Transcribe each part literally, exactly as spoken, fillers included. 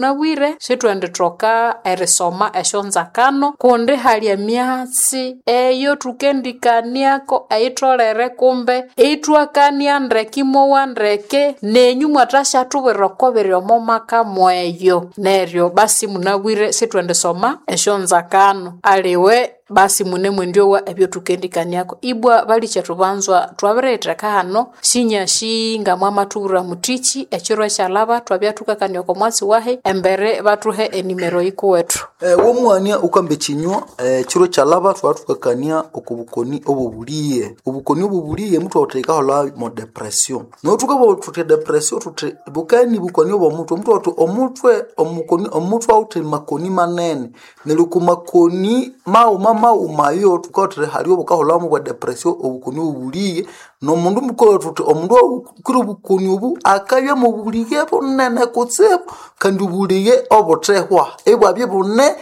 Munabwire sithwendithoka erisoma esyonzakano kundi hali emyatsi eyo thukendikaniako eyitholere kumbe ithwakania ndeke imowa ndeke nenyu mwathasyatubwira oko biri omo maka mweyo. Neryo basi munabwire sithwendisoma esyonzakano aliwe basi munemwendyowa ebyothukendikaniako. Ibwa balikyetu banzwa twabiriyitheka hano sinyasi nga mwamathubwira muthiki ekiro ekyalhaba twabya thukakania oko mwatsi wahi embere bathuhe enimero yikuwethu. Eh, womwania ukamba ekinywa ekiro kyalhaba thwathukakania oko bukoni obobuliye. Obukoni obobuliye muthwawuthe ikaholha mo depression. Neryo thukabugha thuthi depression thuthi bukeni bukoni obwo muthwe, muthwawuthi omutwe omukoni omutwe awithe makoni manene neryo oko makoni maghuma maghuma ayo thukawuthe hali obukaholhamu bwa depression obukoni obobuliye nomundu mukalhwa thuthi omundu owukwire obukoni obu akabya mobulighe bunene kutsibu kandi obulighe obuthehwa ibwabya ibune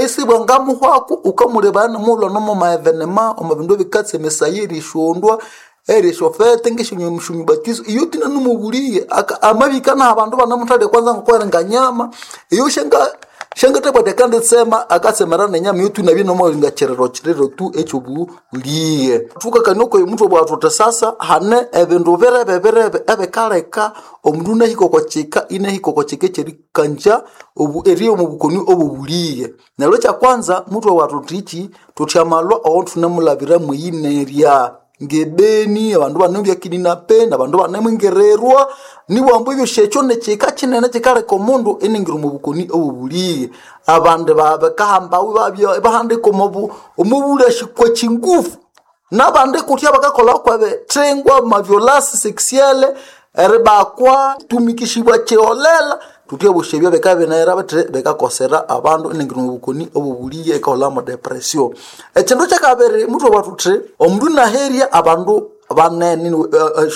isibwangamuhwaku wukamulebaya nomughulhu nomo maevenema omo bindu ebikatsemesaya erishondwa erishofete ngesyonyumubatizo iyo thina nomubulighe amabika naha abandu banemuthalya kwanza ngokwalinga nyama iyo syanga syangathabwa athi akanditsema akatsemera nenyama iyo tu inabya inamalinga kiriro kiriro tu ekyobulighe. Thukakania okwa muthwe bwagha thuthi sasa hane ebindu birebe birebe ebikaleka omundu inahika oko kika inahika oko kika ekyerikanja obu erigha omu bukoni obobulighe. Neryo ekyakwanza muthwe bwagha thuthi iki thuthi amalwa awathune mulhabira mweyinerya ngebeni abandu banemubya kidnapped abandu banemwingirirwa nibwambu ebyosi ekyo nikyika kinene kyikaleka omundu iningira omu bukoni obobulighe. Abandi bakahambawu ibabya ibahandika omo omobulhashi kwechingufu nabandi kutya bakakolha kwebithingwa amaviolence sexuelle eribakwa tumikishibwa kiholela thuthi ebyosi ebyo bikabya bithi bikakosera abandu iningira omu bukoni obobulighe ikaholha mo depression. Ekindu kyakabiri muthwabugha thuthi omundu inaherya abandu banene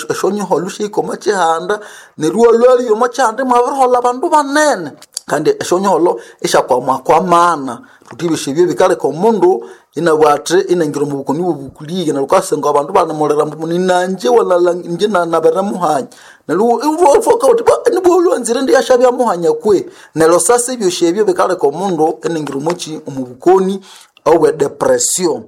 esyonyiholho syahika omo kyihanda neryo iwalhwalya omo kyihanda imwabiriholha abandu banene kandi esyonyiholho isyakwamakwamana thuthi ebyosi ebyo bikaleka omundu inabugha athi inangira omu bukoni obobulighe neryo wukasanga abandu banemulira ambu ninanje walala inje nabirimuhanya neryo iwathoka wuthi nibwa walhwanzire indiyasyabya muhanya kwe neryo sasa ebyosi ebyo bikaleka omundu iningira omokyi omu bukoni obwe depression.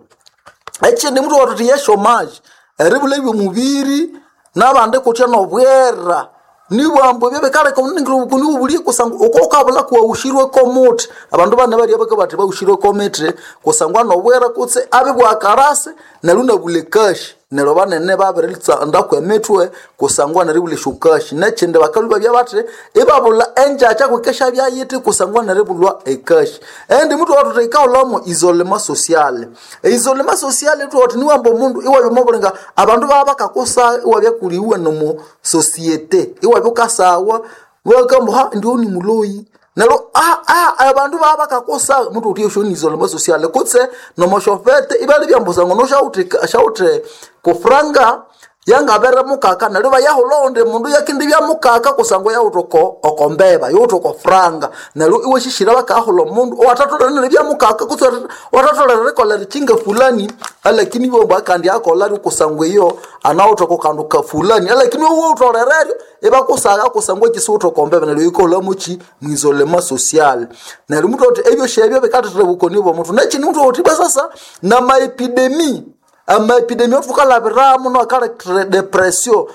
Ekindi muthwabugha thuthi yeshomaji eribulha ebyomubiri nabandi kutya nobwera nibwambu ebyo bikaleka omundu iningira obukoni obobulighe kusangwa wuka wukabulha kuwawushirweko omuthi abandu bane balya bakabugha bathi bawushirweko omithi kusangwa nobwera kutse abibugha karasi neryo inabulha ekashi neryo banene babiritsa kwemithwe kusangwa neribulha esyokashi nekindi bakalhwa ibabya bathi ibabulha engyakya kwikesha yithi kusangwa neribulhwa ekashi. Endi muthwabugha thuthi yikaholhamo isolement social. Eisolement social thwabugha thuthi niwamba omundu iwabya omobulinga abandu babya bakakusagha iwabya kuliwe nomo societe iwabya wukasawa iwabugha ha indiwe nimuloyi neryo abandu babya bakakusagha muthwabugha thuthi esyo ni isolement social kutse nomoshofete ibalibya ambu kusangwa syawithe kufuranga yangabere mukaka neryo ibayahulha owundi mundu yakindibya mukaka kusangwa yawithe oko okombeba yawithe oko franga neryo iwasisira bakahulha omundu owathatholere neribya mukaka kutse owathatholere erikolha erikyinga fulani alakini ibabugha akandi akolharyo kusangwa iyo anawithe oko kandu ka fulani alakini iwe wutholereryo ibakusagha kusangwa kyisiwithe oko mbeba neryo yikaholhamokyi mwisolement social. Neryo muthwabugha thuthi ebyosi ebyo bikathethera obukoni obwo muthwe. Nekindi muthwabugha thuthi ibwa sasa namaepidemi amaepidemi awathukalhabiramu nakalethera depression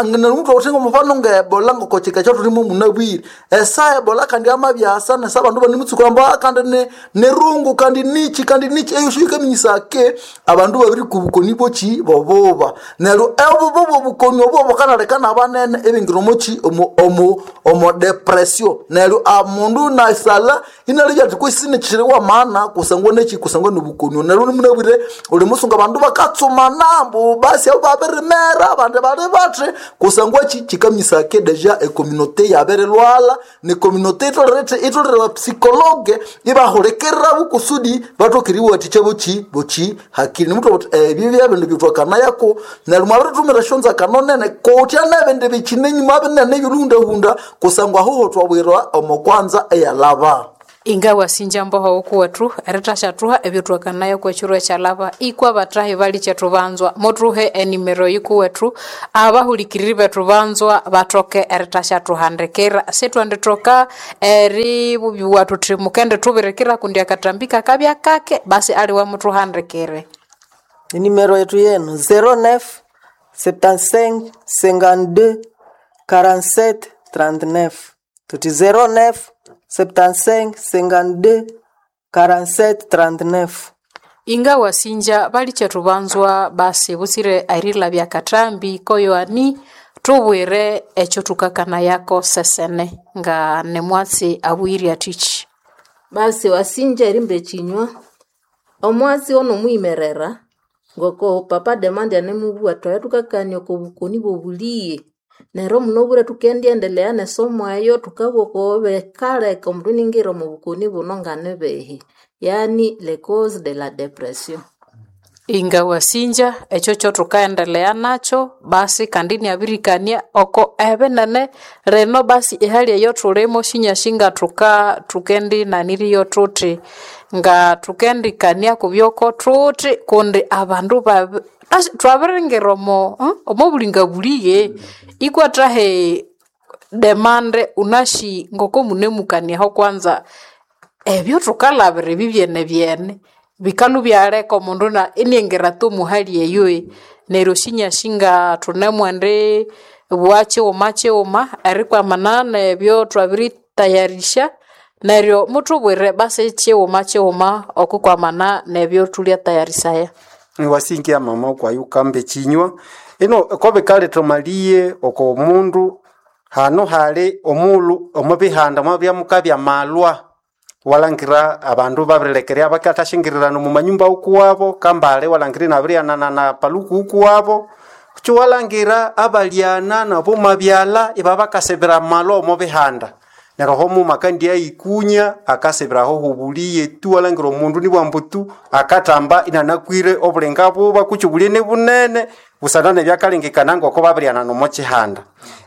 neryo muthwabugha thuthi ngomufano nge ebola ngokokyika ekyathulimu munabwire esaha ebola kandi yamabyasa nesa abandu ibanemutsuka ambu kandi nirungu kandi nikyi kandi nikyi eyosi yikaminyisaya ke abandu babirikwa obukoni bwokyi bobuba neryo obuba bwobukoni obo bukanaleka nabanene ibingira omokyi omo omo omo depression neryo omundu inasalha inalebya athi kwesi sinikyiri wamana kusangwa nekyi kusangwa nobukoni neryo munabwire wulimusunga abandu bakatsumana ambu basi abo babirimera abandi bali bathi kusangwa kyi kyikaminyisaya ke deja ecommunauté yabirilhwalha necommunauté itholere itholere bapsychologue ibahulikirirabu kusudi bathoke eriwathikya bokyi bokyi hakili nimuthwa buthi ebyo byebindu byethwakanayaku neryo mwabirithumira esyonzakano nene kutya nebindi bikyine enyuma binene ebyolhuhundahunda kusangwa ahuho thwabwirwa omo kwanza eyalhaba. Inga wasinja mboho ukuwethu eritashathuha ebyo twakanayo kwekiro ekyalaba ikwa batahi bali kyethu banzwa muthuhe enimero yikuwethu abahulikiriri bethu banzwa bathoke eritashathuhandikira sitwendithoka eribubiwa thuthi mukende thubirikira kundi akatambi kakabya kake basi aliwe muthuhandikire. Nimero yetu yenu zéro neuf septante-cinq cinquante-deux quarante-sept trente-neuf. Tuti zéro neuf septante-cinq cinquante-deux quarante-sept trente-neuf. Inga wasinja bali kyethu banzwa basi butsire erilabya katambi koyoani thubwire ekyo thukakanayako sesene nga nemwatsi abuyire athiki. Basi wasinja erimba ekinywa omwatsi ono mwimerera ngoko papa Demande anemubugha twaya thukakania oko bukoni bw'obuliye neryo munobwire thukendiendelea nesomo eyo thukabugha oko bikaleka omundu iningira omu bukoni buno nganibihi yani le cause de la depression. Inga wasinja ekyo kyothukaendelea nakyo basi kandi inabirikania oko ebinene lino basi ehali eyo thulimo sinyasi nga thuka thukendinaniriyo thuthi nga thukendikania kubyoko thuthi kundi abandu babi asi twabiringira omo hmm? omo bulinga buliye ikwathahe Demande unasi ngoko munemukaniaho kwanza ebyo thukalabira ebi byene byene bikalhu byaleka omundu na iniengira tu muhali eyo neryo sinyasi nga thunemwendi bugha kighuma kighuma erikwamana nebyo twabiritayarisha neryo muthubwire basi kighuma kighuma okukwamana nebyo thulyatayarisaya. Wasingia mama kwayukamba ekinywa ino kobikaletha omaliye oko mundu hano hali omulhu omo bihanda mwabya mukabya malwa walangira abandu babirilekerya bakathashingirirana omu manyumba ukuwabo kambale walangira inabiryanana na paluku ukuwabo kutsi walangira abalyana nabo mabyalha ibabakasibira malwa omo bihanda neryo oho muma akandyayikunya akasibiraho hubuliye tu walangira omundu nibwambu tu akathamba inanakwire obulinga buba kutsi obuliye nibunene busana nebyakalengekana ngoko babiryanana omo kihanda.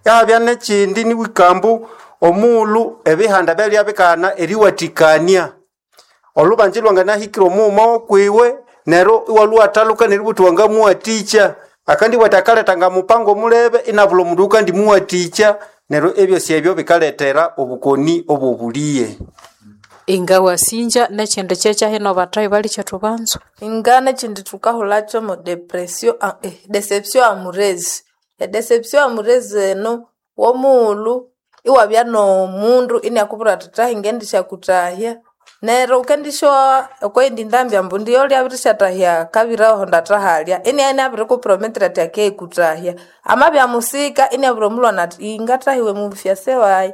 Ihabya nekyindi niwikambu omughulhu ebihanda byalya bikana eriwathikania olhubanza ilwanganahikira omughuma wokwiwe neryo iwalhuwathaluka neribugha wuthi wangamuwathikya akandibugha athi akaletha ngamupango omulebe inabulha omundu oyukandimuwathikya neryo ebyosi ebyo bikalethera obukoni obw'obuliye. Inga wasinja nekyindi kyekyahino bathahi bali kyethu banzwa. Inga nekyindi thukahulakyo mo depression eh, deception amoureuse. E deception amoureuse eno womughulhu iwabya nomundu iniakubwira athi thahi ngendisyakuthahya neryo wukendisyowa okweyindi ndambi ambu ndiyo lyabirisyathahya kabiri aho ndathahalya inia inabirikuprometera athi akeyikuthahya amabya musika iniabwira omulhwana athi ingathahiwe mufyase wayi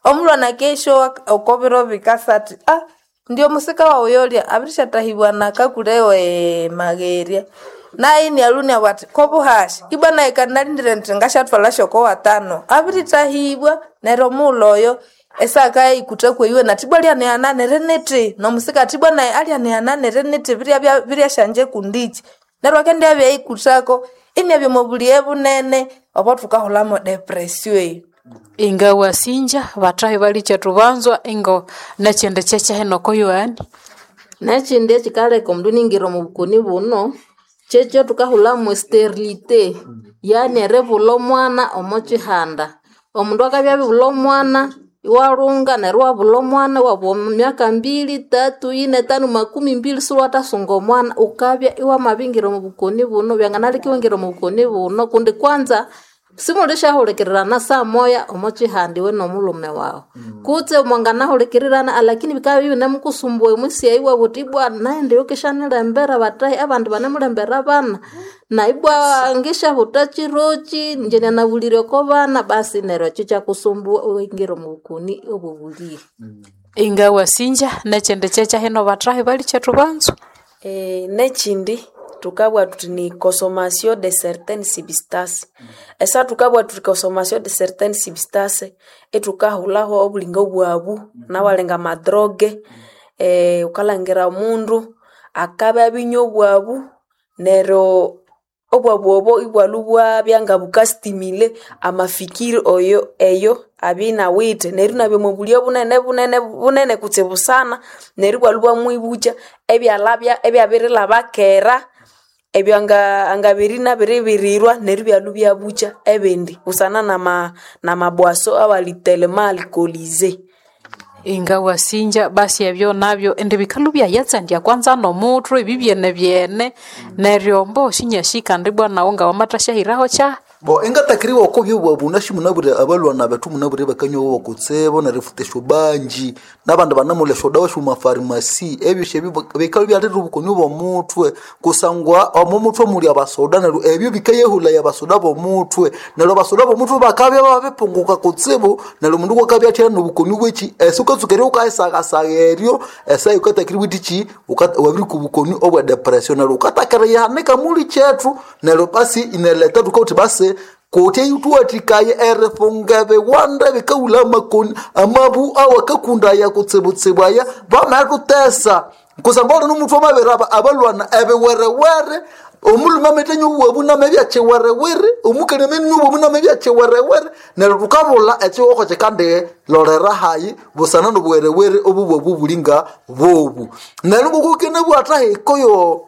omulhwana akesyowa oko biro bikasa athi ah ndio musika wawu yolya abirisyathahibwa nakakulewe magherya naye inialhu iniabugha athi kobuhasya ibwa nayi kandi nalindire indi ngasyathwalha syoko watano abirithahibwa neryo omughulhu oyo esakayikutha kweyiwe nathi ibwa lyanighananire nithi nomusika athi ibwa nayi alyanighananire nithi biryabya biryasyanje kundiki neryo akendyabya eyikuthako iniabya omo buliye bunene obo thukahulamo depression eyo. Inga wasinja bathahi bali kyethu banzwa ingo nekyindi kyekyahino koyoani. Nekyindi ekyikaleka omundu iningira omu bukoni buno kyekyo thukahulhamu sterilite yani eribulha omwana omo kihanda. Omundu akabya abibulha omwana iwalhunga neryo iwabulha omwana iwabugha omu myaka mbili, tatu, yine, tano, makumi mbili isiwathasunga omwana wukabya iwamabingira omu bukoni buno byanganaleka iwingira omu bukoni buno kundi kwanza simulisyahulikirirana saa moya omo kihanda iwe nomulhume wawu kutse mwanganahulikirirana alakini bikabya ibinemukusumbua omwisi eyi iwabugha wuthi ibwa naghenda eyokesyanilembera bathahi abandi banemulembera abana na ibwa ngisyabutha kiroki ingye nanabulire oko bana basi neryo ekyo ikyakusumbua iwingira omu bukoni obw'obuliye. Inga wasinja nekyindi kyekyahino bathahi bali kyethu banzwa. Eh, nekyindi thukabugha thuthi ni consommation de certaines substances esa thukabugha thuthi consommation de certaines substances ithukahulhaho obulinga bwabu nawalenga amadroge eh, wukalhangira omundu akabya abinywa obwabu neryo Obwabu obo ibwalhu bwabya nga bukastimile amafikiri oyo eyo abya inawithe neryo inabya omo bulya bunene bunene bunene kutsibu sana neryo ibwalhu bwamwibukya ebyalabya ebyabirilhaba kera ebyo anga angabere inabiribirirwa neryo ibyalhu byabukya ebindi busana nama namabwaso awali telema alcoolise. Inga wasinja basi ebyo nabyo indi bikalu byayatsandya kwanza nomutwe ebi byene byene neryo mbo shinyashika ndi bwana nawo nga wamathashahiraho kya Bo engatakiriwa oko byobwa nashi munabwire abalwana bethu munabwire bakanywa bokutsebo nerifuta esyobanji nabandi banamulha esyodawa syomumafarimasi ebyo syebyo bikabya byaleta obukoni bw'omutwe kusangwa omo mutwe muli abasoda neryo ebyo bikayehulaya abasoda b'omutwe neryo abasoda b'omutwe bakabya babipunguka kutsibu neryo omundu kwakabya athya nobukoni bweki esi ukatsuka eryo ukayisagasaga eryo esaha yukatakiriwa ithiki wabirikwa obukoni obwa depression neryo ukatakira yihanika muli kyethu neryo basi ineleta thukawuthi basi kutya ituwathikaye erifunga ebiwanda bikawula amakoni amabu awakakundaya kutsibutsibu aya bamathutesa kusangwa oli nomuthu amabiri aba abalwana ebiwerewere omulhume ametanywa obuwabu namabya kyiwerewere omukali amenywa obuwabu namabya kyiwerewere neryo thukabulha ekihugho kyikandilolera hayi busana nobuwerewere obuwabu buli nga bobu neryo ngoku hikoyo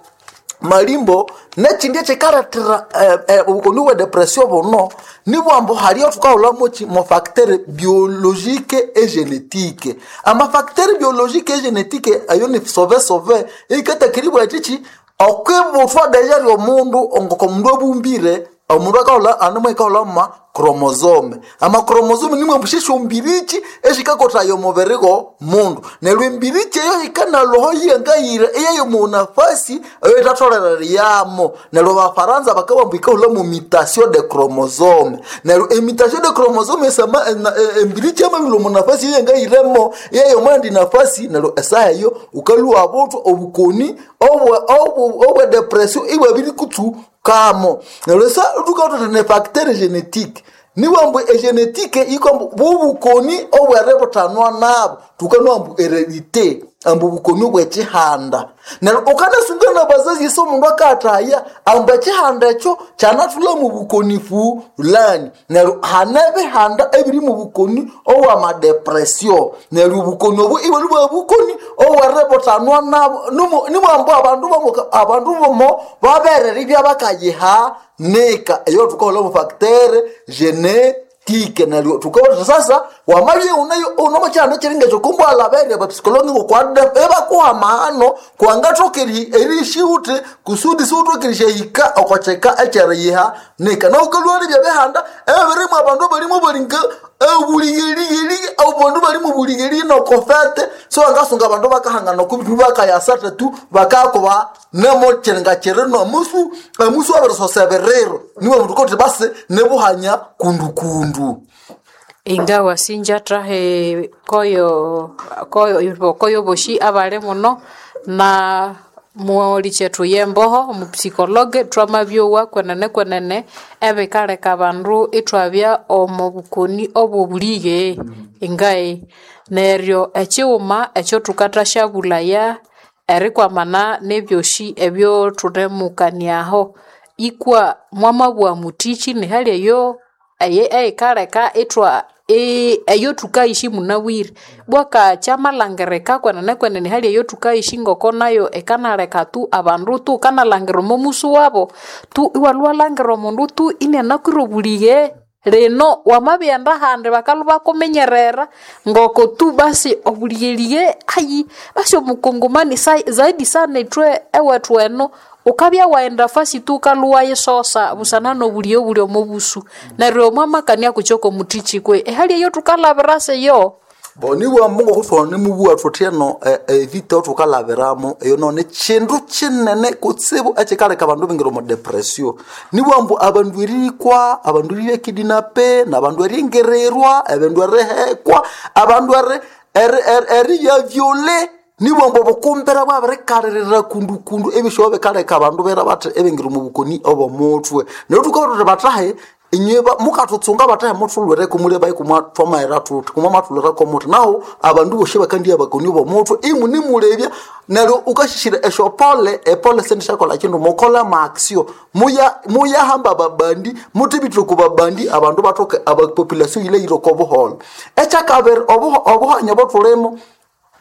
malimbo nekindi ekikalethera eh, eh, obukoni bwe depression buno nibwambu haliyo thukahulhamoki mo facteur biologique et génétique amafacteur biologique et génétique ayo ni sove sove ikatakiribwa kiki okwibuthwa deja lyomundu ngoko omundu abumbire omundu akahulha animo ikahulha ma chromosome amachromosome nimwe mbushisha ombiriki eshikakothaya omubiri go mundu neryo embiriki eyo yikanalwaho yiyangayira eyayo munafasi eyo itatholere yamo neryo abafaransa bakabamba ikahulha mu mutation de chromosome neryo emutation de chromosome esama ena- e- embiriki yamabilwa munafasi eyangayiremo eyayo mwandi nafasi neryo esaha eyo ukalwa buthwa obukoni obwe obwe obwe depression ibwabiri kutsu kamo neryo sa tukathuthi ne facteur génétique niwambu egenetike ikwambu bubukoni obweributhanwa nabo tukanwa ambu heredite ambu bukoni obwekihanda neryo ukanasunga nabazazi isi omundu akathaya ambu ekihanda ekyo kyanathula mu bukoni fulani neryo hane ebihanda ebiri mu bukoni obwamadepresio neryo obukoni obu ibwali bwa bukoni obweributhanwa nabo Nimu- nimwambu abandu bomo- abandu bomo baberere ibyabakayiha nika eyo tukahola mu facteur génétique neryo tukabola sasa wamabye unayo unomo kyihanda kyiringa ekyo kumbwalhaberya abapsikologi ngokwade ebakuha amahano kwangathoka erishiwuthi kusudi siwuthoka erihika okokyeka ekyeriyiha nika naukalwalya byabihanda ebirimu abandu balimu balinga obuligheliheli abandu bali mu buligheli nokofete so angasunga abandu bakahangana okubindu bakayasatha tu bakakuba nemo kyiringa kyiri nomusu omusu abirisosa ebiriro niwe mundu kothi basi nibuhanya kundukundu Inga wasinja trahe koyo koyo koyo boshi abale muno na muoli chethu yemboho omupsikologe twamabyowa kwenene kwenene ebikaleka abandu ithwabya omo bukoni obwobulighe ingae neryo ekighuma ekyo thukathashabulaya erikwamana nebyoshi ebyothunimukaniaho ikwa mwamabugha muthiki nihali eyo eye eyikaleka ithwa e- eyo thukayishi munabwire bwaka kyamalhangirika kwenene kwenene hali eyo thukayishi ngoko nayo ikanaleka tu abandu tu kanalhangira omo musu wabo tu iwalhwa walhangira omundu tu inianakwire obulighe lino wamabighenda ahandi bakalhwa bakuminyerera ngoko tu basi obulighelighe ayi basi omukongomani sa- zaidi sana ithwe ewethu eno ukabya waghenda fasi tu ukalhwa wayisosa busana nobulighe obuli omo busu neryo mwamakania kukyoko muthiki kwe ehali eyo thukalhabira siyo bo nibwambu ngokuthwana nimubugha thuthi eno evita thukalhabiramo eyo no ni kindu kinene kutsibu ekikaleka abandu bingira omu depression nibwambu abandu erikwa abandu eribya nabandu eringirirwa abandu erihekwa abandu eri- eri- eri- eribya vyole nibwambu obukumbira bwabirikalirira kundukundu ebisyoba bikaleka abandu bera bathi ebingira omu bukoni obw'omuthwe neryo thukabona thuthi bathahe inywe mukatutsunga batahe muthulwireko muli bayi kumwa twamaghera thuthi kumwamathulwireko muthi naho abandu bosi bakandiya bakoni bomutwe imunimulebya neryo ukashishira esyopole epole sendishakola kindu mukola maaksio muya muyahamba babandi muthibitire ku babandi abandu bathoke abapopulation yile yire oko buholho. Ekyakabiri, obuho- obuhanya obothulimo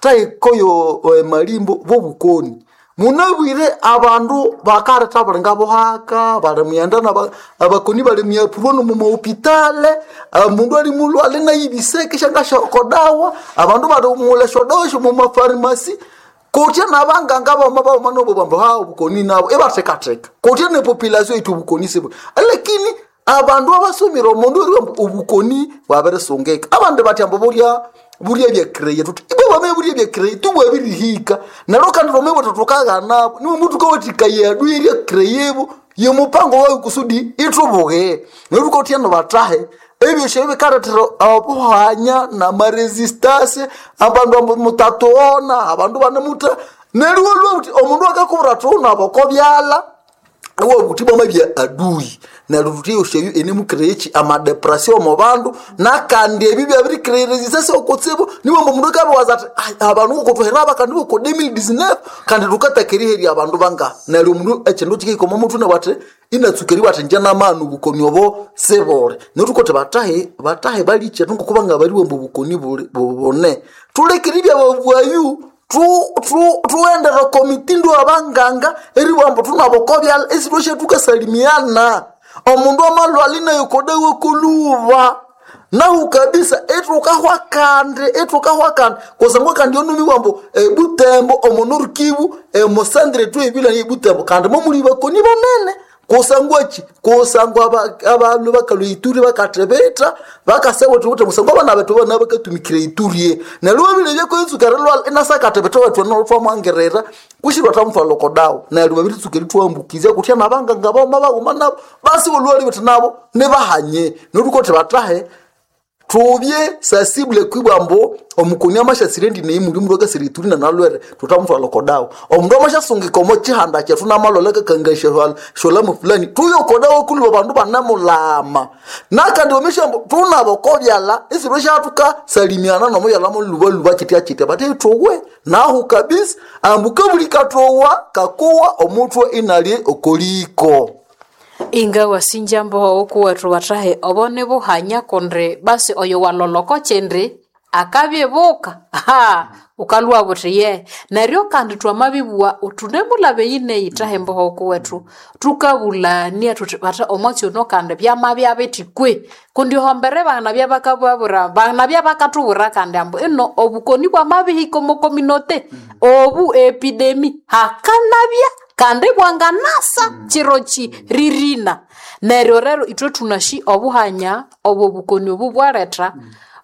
taikoyo malimbo bobukoni munabwire abandu bakaletha bulinga buhaka bali muyenda naba- abakoni bali myapurwa nomumahopitale, mundu ali mulwale nayibiseke shangashakodawa abandu bali mula esyodawa esyomumafarimasi kutya nabanganga bama bawoma nobo bambu ha obukoni nabo ibathekatheka kutya nepopulation yithi obukoni sibu, lakini abandu abasomire omundu eri obukoni bwabirisungika abandi bathi ambu bulya bulya byakreye tuthi ibwe bame bulya byakreye tubwabirihika neryo kandi twamabwa thukaghanabo niwe mutu kawathikaya adui erya kreyebo yomupango wayo kusudi ithubuge neryo thukathya batahe ebyosi ebyo bikalethera obuhanya namaresistance abandu ambu mutatughona abandu banemutha neryo iwalhwa wuthi omundu akakubwira athi wunaba oko byalha iwabuthi bwamabya adui neryo thuthi eyosi eyo enemukireya amadepression omo bandu nakandi ebyo byabirikireya resistance okutsibu niwamba omundu akabiwaza athi "Ai, abandu ngokuthuhera aba kandi boko elfu mbili na ikumi na tisa kandi thukataka eriherya abandu bangaha." Neryo omundu ekindu kikahika omo muthwe nabu athi inatsuka eribugha athi ingye namani obukoni obo sibuli. Neryo thukothi batahe batahe balikyetu ngokubanga baliwa ambu obukoni buli bune thulekere ibyababwayu thuwendera oko mitindo abanganga eribugha ambu thunaba oko byalha esithwasya thukasalimiana omundu amalhwala inayokodawa koluba nahu kabisa ithukahwa kandi ithukahwa kandi kusangwa kandi onumiwa ambu ebutembo omo Nord-Kivu emosandre tu ebila ebutembo kandi momuli bakoni banene kusangwa ki kusangwa aba- abandu bakalwa Ituri bakathibitha bakasaba thukuthi kusangwa abana bethu bana bakatumikira Ituri neryo babile byakoyitsuka erilwala inasakathibitha wethu nolthwamwangirira kushirwa thamutwalha oko dawa neryo babiritsuka erithwambukizya kutya nabanganga bawuma baghuma nabo basi bolwali bethu nabo nibahanye neryo thukothi batahe thubye sasible kwibwa ambu omukoni amasyasire ndi neyi muli mundu akasira Ituri nanalwere thutamutwalha oko dawa. Omundu amasyasungika omo kihanda kyethu namalwala akakangasya syolamo fulani thuye oko dawa kuliwa abandu banemulama nakandi wamesya ambu thunaba oko byalha isithwe syathukasalimiana nomubyalha mulubaluba kitya kitya bathi thuwe nahu kabisa ambu kabuli kathowa kakuwa omutwe inalye okoliko. Inga wasinja mboho okuwethu bathahe obo nibuhanya kundi basi oyo waloloko kyindi akabyibuka ha ukalwa buthi ye neryo kandi twamabibugha thunemulaba eyi neyi thahe mboho okuwethu thukabulania thuthi batha omwatsi ono kandi byamabya bithi kwe kundi hombere banabya bakababwira banabya bakathubwira kandi ambu ino obukoni bwamabihika omo communauté obu epidemi hakanabya kandi bwanganasa chiro chiririna neryo rero ithwe thunashi obuhanya obwo bukoni obu bwaletha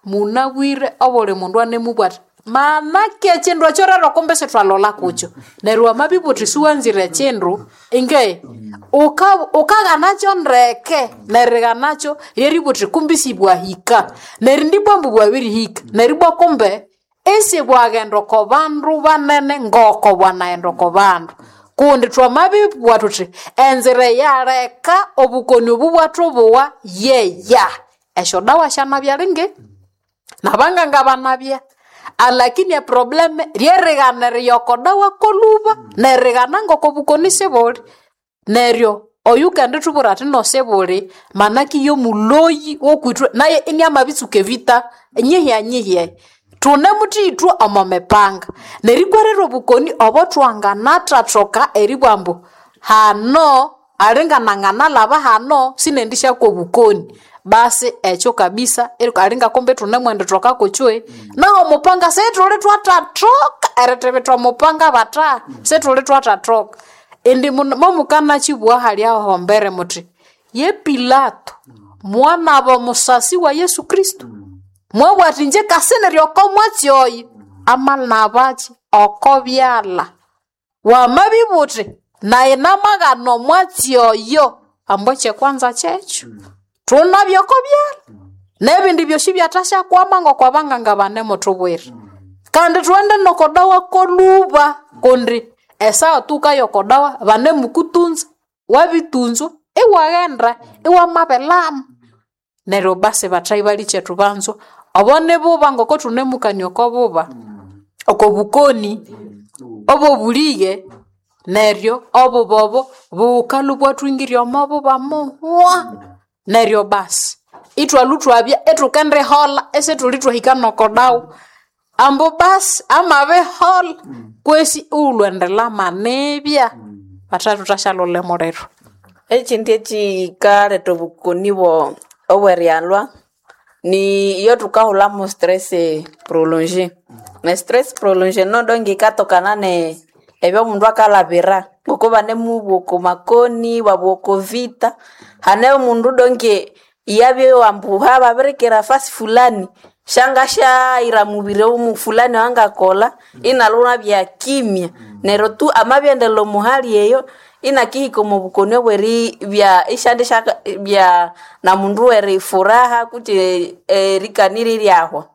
munabwire obuli mundu anemubwa athi manake ekindu ekyo rero kumbe sithwalola kukyo neryo wamabibwa uthi siwanzire ekindu inge uka- ukaghanakyo ndeke nerighanakyo lyeribwa uthi kumbe sibwahika neryo ndibwa ambu bwabirihika neryo ibwa kumbe isibwaghenda oko bandu banene ngoko bwanaghenda oko bandu kundi twamabibugha thuthi enzira eyaleka obukoni obu bwathubuwa yeya esyodawa syanabya lingi nabanganga banabya alakini eprobleme lyerighana eriyoko dawa koluba nerighana ngoko bukoni sibuli neryo oyukendithubwira athi no sibuli manaki yomuloyi wokwithwe naye iniamabitsuka evita nyihya nyihya thunemuthi ithwe omo mipanga nerikwerera obukoni obo twanganathathoka eribugha ambu hano alingananganalaba hano sinendishyakwa obukoni basi ekyo kabisa eri- alinga kumbe thunemwendithoka kukywe naho omupanga sithuli twathathoka erithibitha omupanga batha sithuli twathathoka indi muno- momukanakibugha hali ahombere muthi ye Pilato mwanaba omusasi wa Yesu Kristo mwabugha athi inje kasinirye oko mwatsi oyo amalabaki oko byalha wamabibugha uthi naye namaghana omwatsi oyo ambu ekyekwanza kyekyo thunabye oko byalha nebindi byosi byathasyakwama ngokwabanganga banemuthubwira kandi thughende nokodawa koluba kundi esaha tukaya okodawa banemukutunza wabitunzwa iwaghenda iwamabelama. Neryo basi bathayi balikyetu banzwa obo nibuba ngoko thunemukania oko buba oko bukoni obobuliye neryo obuba obo bukalhwa ibwathwingirya omo buba muhwa. Neryo basi ithwalhwa ithwabya ithukendiholha isithuli thwahika noko dawa ambu basi amabiholha kwesi iwulhwendilhama nibya bathathu thwasyalholha emuliro. Ekyindi ekyikaletha obukoni bwo obweryalhwa ni iyo thukahulhamu stress prolongée. Ne stress prolongée nodo ngikatokana ne ebyomundu akalhabira ngoko banemubugha oko makoni ibabugha oko vita hane omundu donke iyabya ambu hababirikira fasi fulani syangasyayira mubiri omu fulani owangakolha inalhwa inabya kimya neryo tu amabyaendera omuhali eyo inakihika omu bukoni obweribya isyandisya namundu werifuraha kutse erikanirya iryahwa.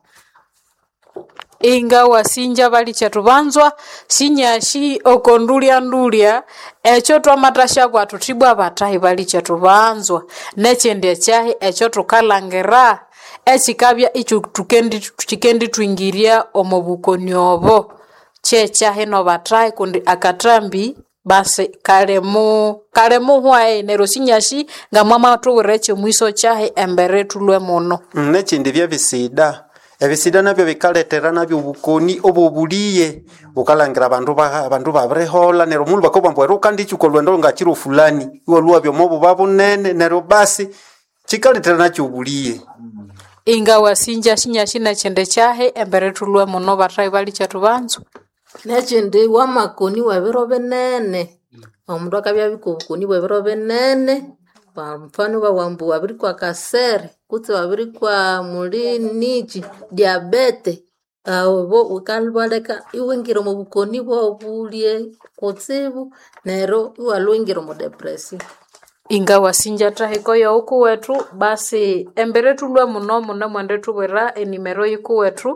Inga wasinja balikyetu banzwa sinyasi oko ndulya-ndulya ekyo twamathasya thuthi ibwa bathahi balikyetu banzwa. Nekyindi ekyahi ekyo thukalhangira ekyikabya ikyithukendi kyikendithwingirya omo bukoni obo kyekyahi nobathahi kundi akathambi basi kalimu kalimuhwayi neryo sinyasi ngamwamathubwira ekyomwiso kyahi embere thulhwe muno. Nekyindi byebisida ebisida nabyo bikalethera nabyo obukoni obobuliye wukalhangira abandu ba abandu babiriholha neryo omundu bakabugha ambu eri wukanditsuka olhwendo ngakiro fulani iwalhwa iwabya omo buba bunene neryo basi kyikalethera nakyo obuliye. Inga wasinja sinyasi nekyindi kyahi embere thulhwe muno bathahi balikyetu banzwa. Nekyindi wamakoni webiro binene omundu akabya abikwa obukoni bwebiro binene kwa mfano ibabugha ambu wabirikwa kasere kutse wabirikwa muli niki diabete obo bukalhwaleka iwingira omo bukoni bwobulye kutsibu neryo iwalhwa iwingira omo depression. Inga wasinja thahiko yoghukuwethu basi embere thulhwe muno munemwendithubwira enimero yikuwethu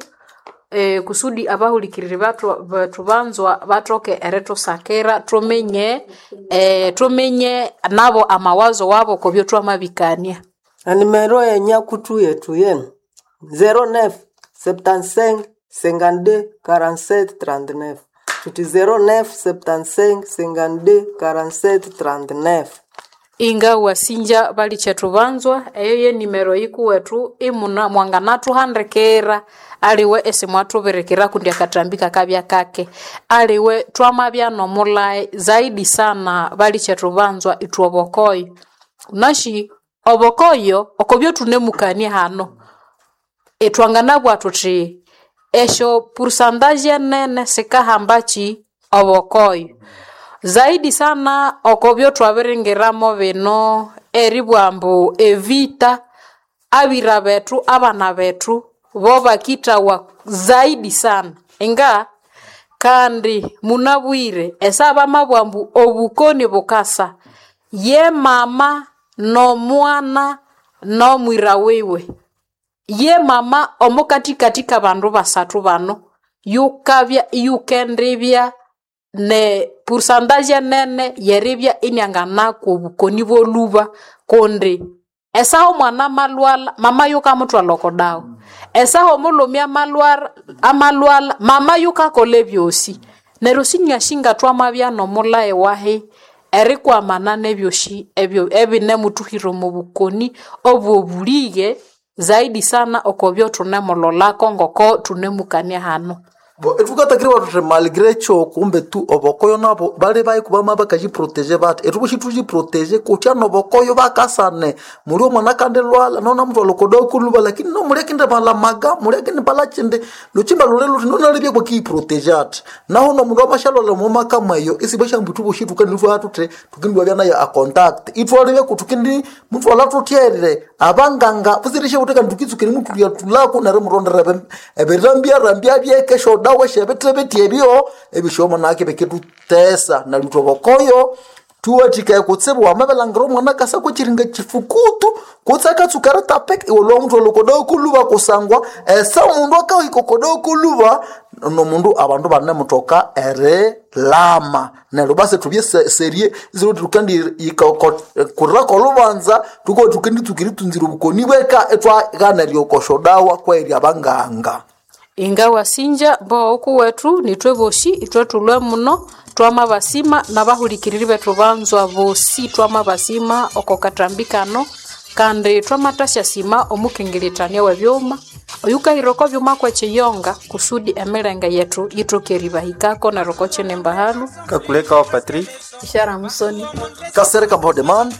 eh, kusudi abahulikiriri bathu bethu banzwa bathoke erithusakira thuminye eh, thuminye nabo amawazo wabo okubyo thwamabikania. Enimero yenyakutu yetu yenu zero neuf septante-cinq cinquante-deux quarante-sept trente-neuf thuthi zero neuf septante-cinq cinquante-deux quarante-sept trente-neuf. Inga wasinja balikyetu banzwa eyo yenimero yikuwethu imuna mwanganathuhandikira aliwe isimwathubirikira kundi akathambi kakabya kake aliwe twamabya nomulhayi zaidi sana balikyetu banzwa ithwe obokoyo. Wunasi obokoyo okobyo thunemukania hano ithwanganabugha thuthi esyo pourcentage enene sikahambakyi obokoyo. Zaidi sana okobyo thwabiringiramo bino eribugha ambu evita abira bethu abana bethu bo bakithawa zaidi sana inga kandi munabwire esaha bamabugha ambu obukoni bukasa ye mama nomwana nomwira wiwe ye mama omukathikathi kabandu basathu bano yukabya iyukendibya ne pourcentage enene yeribya inianganakwa obukoni bolhuba kundi esaha omwana amalhwalha mama yukamuthwalha oko dawa esaha omulhume amalhwara amalhwalha mama yukakolha ebyosi neryo sinyasi ngathwamabya nomulhayi wahi erikwamana nebyosi ebyo ebinemuthuhira omo bukoni obwobuliye zaidi sana okobyo thunemulholako ngoko thunemukania hano. Bo ithukatakiribwa thuthi malgré ekyo kumbe tu obokoyo nabo bali bayi kubama bakayiproteje bathi ithubushi thuyiproteje kutya nobokoyo bakasane muli omwana akandilhwalha nonamuthwalha okodawa kulhuba lakini nomuli akindibala maga muli akindibala kyindi lukyimba luli luthi nonalibya kwakiyiproteje athi naho nomundu amasyalhwalha omwamaka mweyo isibashambu ithubushi thukanilhwa thuthi thukindibabya nayo a contact ithwalibya kuthukindi muthwalha thuthyerire abanganga busirishe buthi kandi thukitsukire muthulya thulako neryo murondera ebirambya byeke syodawa syebithibithi ebyo ebisyomo naki bikithutesa neryo ithwe obokoyo Tuwathikaye kutsibu wamabilangira omwana akasa kwekiringa kifukutu kutse akatsuka eritapika iwe lwa muthwalha okodawa koluba kusangwa ese omundu akahika okodawa koluba nomundu abandu banemuthoka erilama neryo basi thubye se- serie isiro thukendikurira kolubanza thukowa thukenditsuka eritsunzira obukoni bweka ithwaghana eryokoshodawa kweri abanganga. Ingawa sinja bo okuwethu nithwe bosi ithwe thulwe muno twamabasima nabahulikiriri bethu banzwa bosi twamabasima oko kathambi kano kandi twamathasya omukengeretania webyuma oyukahira oko byuma kwekiyonga kusudi emilenge yethu yithoke eribahikako neryo oko kinimba halu. Kakuleka wa Patrick. Ishara Musoni Kasereka mbo demand.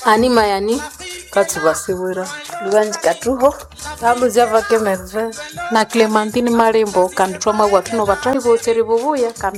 Ani Mayani Katsubasiwira Lubanji Katuho Tambuzi vake Merve Na Clementine Malembo kandi twamabwa thuno bathahi bosi eribubuya kandi.